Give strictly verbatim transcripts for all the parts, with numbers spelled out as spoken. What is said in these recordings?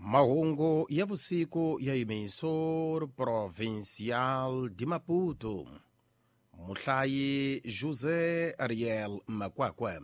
Mahungu ya vusiku ya Emissor Provincial de Maputo. Muhlayi José Ariel Makwakwe.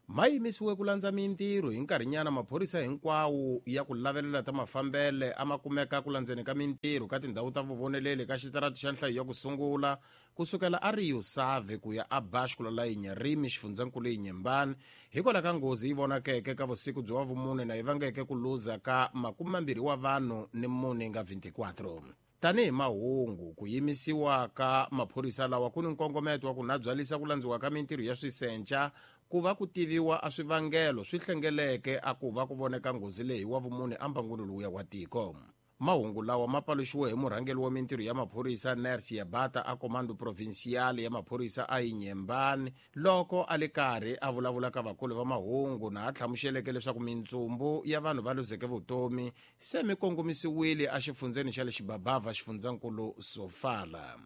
Ma yimisiwe ku landza mintirho hi nkarhinyana maphorisa hinkwawo ya ku lavelela ta mafambele a ma kumeka ku landzeni ka mintirho ka tindhawu ta vuvoneleli ka xitarati xa nhlayo ya ku sungula kusukela a Rio Save ku ya a Bashkula la Inharime xifundzankulu Inhambane hikwalaho ka nghozi yi vonakeke ka vusiku bya vumune na yi vangeke ku luza ka makume mambirhi wa vanhu ni mune nga veintiquatro. Tanihi mahungu ku yimisiwa ka maphorisa lawa ku ni nkongometo wa ku nabyalisa ku landziwa ka mintirho ya swisenca ku va ku tiviwa a swivangelo swi hlengeleke a ku va ku voneka nghozi leyi wa vumune ambangwini lowuya wa tiko. Mahungu lawa ma paluxiwe hi murhangeri wa mintirho ya maphorisa Nersi Yabata a Comando Provincial ya maphorisa a Inhambane loko a le karhi a vulavula ka vakulu va mahungu na a hlamuseleke leswaku mintsumbu ya vanhu va luzeke vutomi se mi kongomisiwile a xifundzeni xa le Xibabava xifundzankulu Sofala.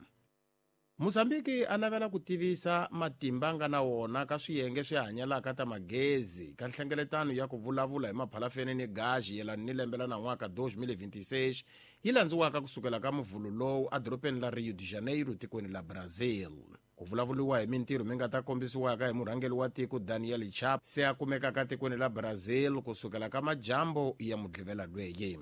Mozambique a navela ku tivisa matimba nga na wona ka swiyenge swi hanyalaka ta magezi ka nhlengeletano ya ku vulavula hi maphalafeni ni gaji yelana ni lembe la nan'waka dois mil e vinte e seis yi landziwaka kusukela ka muvhulu lowu edorobeni la Rio de Janeiro tikweni la Brazil. Ku vulavuriwa hi mintirho mi nga ta kombisiwaka hi murhangeri wa tiko Daniel Chapo se a kumekaka tikweni la Brazil kusukela ka majambo ya mudlivela lweyi.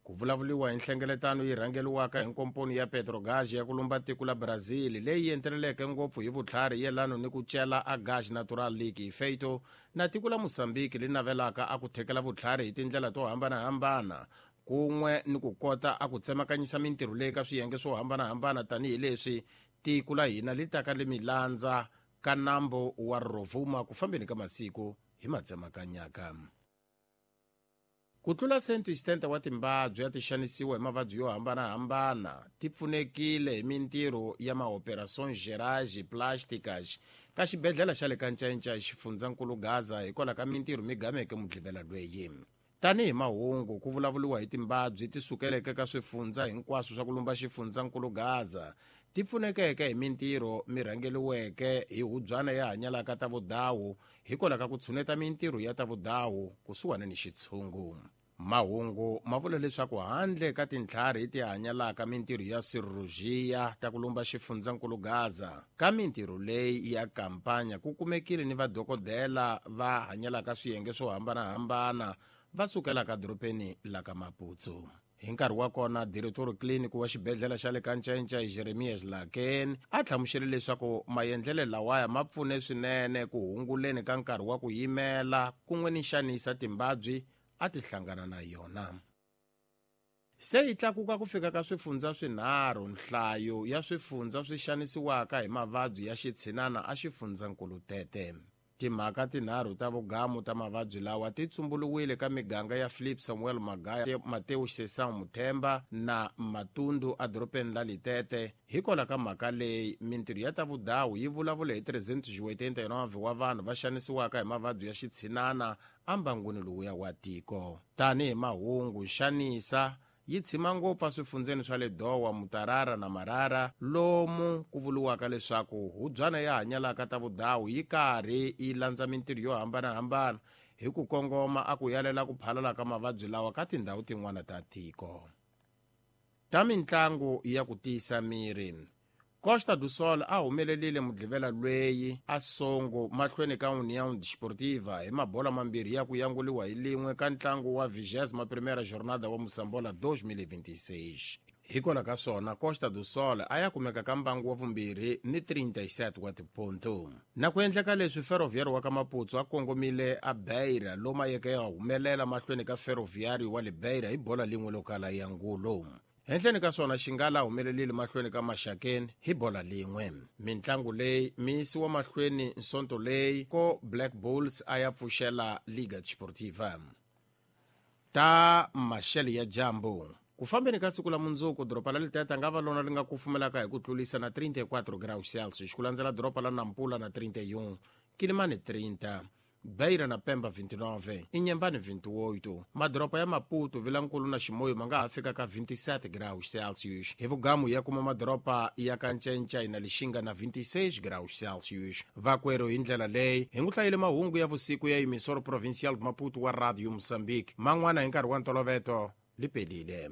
Ku vulavuriwa hi nhlengeletano yi rhangeriwaka hi nkomponi ya Petrogas ya ku lumba tiko la Brazil leyi enteleleke ngopfu hi vutlhari yelano ni ku cela a gas natural liquefeito na tiko la Mozambique li navelaka a ku thekela vutlhari hi tindlela to hambanahambana kun'we ni ku kota a ku tsemakanyisa mintirho leyi ka swiyenge swo hambanahambana tanihileswi tiko la hina li taka li milandza ka nambu wa Rovuma ku fambeni ka masiku hi matsemakanyaka. Ku tlula cento e setenta wa timbabyi ya ti xanisiwa hi mavabyi yo hambanahambana ti pfunekile hi mintirho ya maoperações gerais plásticas ka xibedhlele xa le ka Ncainca xifundzankulu Gaza hikwalaho ka mintirho mi gameke mudlivela lweyi. Tanihi mahungu ku vulavuriwa hi timbabyi ti sukeleke ka swifundza hinkwaswo swa ku lumba xifundzankulu Gaza ti pfunekeke hi mintirho mi rhangeriweke hi hubyana ya hanyalaka ta vudawu hikwalaho ka ku tshuneta mintirho ya ta vudawu kusuhani ni xitshungu. Mahungu ma vula leswaku handle ka tintlhari ti hanyalaka mintirho ya sirurujia ta ku lumba xifundzankulu Gaza ka mintirho leyi ya kampanya ku kumekile ni vadokodela va hanyalaka swiyenge swo hambanahambana va sukelaka dorobeni la ka Maputo. Hi nkarhi wa kona diretori clinic wa xibedhlele xa le ka Ncainca Jeremias Laken a hlamusele leswaku maendlelo lawaya ma pfune swinene ku hunguleni ka nkarhi wa ku yimela kun'we ni xanisa timbabyi a ti hlangana na yona. Se yi tlakuka ku fika ka swifundza swinharhu nhlayo ya swifundza swi xanisiwaka hi mavabyi ya xitshinana a xifundzankulu Tete. Timhaka tinharhu ta vugamu ta mavabyi lawa ti tsumbuluwile ka miganga ya Philip Samuel Magaya, Mateus Sesang Muthemba na Matundu edorobeni la Litete. Hikwalaho ka mhaka leyi mintirho ya ta vudawu yi vulavula hi trezentos e oitenta e nove wa vanhu va xanisiwaka hi mavabyi ya xitshinana ambangwini lowuya wa tiko. Tanihi mahungu xanisa yi tshima ngopfu eswifundzeni swa le Dowa, Mutarara na Marara lomu ku vuriwaka leswaku hubyana ya hanyalaka ta vudawu yi karhi yi landza mintirho yo hambanahambana hi ku kongoma a ku yalela ku phalala ka mavabyi lawa ka tindhawu tin'wana ta tiko. Ta mintlangu ya ku tiyisa miri. Costa do Sol a humelerile mudlivela lweyi a songo mahlweni ka União Desportiva hi mabola mambirhi ya ku yanguliwa hi lin'we ka ntlangu wa vigésima primeira jornada wa Moçambola dois mil e vinte e seis. Hikwalaho ka swona Costa do Sol a ya kumeka ka mbangu wa vumbirhi ni trinta e sete wa tiponto. Na ku endleka leswi Ferroviário wa ka Maputo a kongomile a Beira lomu a yeke ya humelela mahlweni ka Ferroviário wa le Beira hi bola lin'we lo kala ya ngulo. Henhleni ka swona Xingala humelerile mahlweni ka Maxakeni hi bola lin'we. Mintlangu leyi mi yisiwa mahlweni nsonto leyi ko Black Bulls a ya pfuxela Liga Desportiva. Ta maxele ya dyambu. Ku fambeni ka siku la mundzuku doroba la Litete nga va lona li nga kufumelaka hi ku tlulisa na trinta e quatro graus Celsius ku landzela doroba la Nampula na trinta e um, Quilimane trinta, Beira na Pemba vinte e nove, Inhambane vinte e oito. Madoropa ya Maputo, Vilankulu na Chimoio ma nga ha fika ka vinte e sete graus Celsius. Hi vugamu ya kuma madoropa ya ka Ncencai na Lixinga na vinte e seis graus Celsius. Vakwerhu, hi ndlela leyi hi ngu hlayile mahungu ya vusiku ya Emissor Provincial de Maputo wa Radio Moçambique. Man'wana hi nkarhi wa ntoloveto lipelile.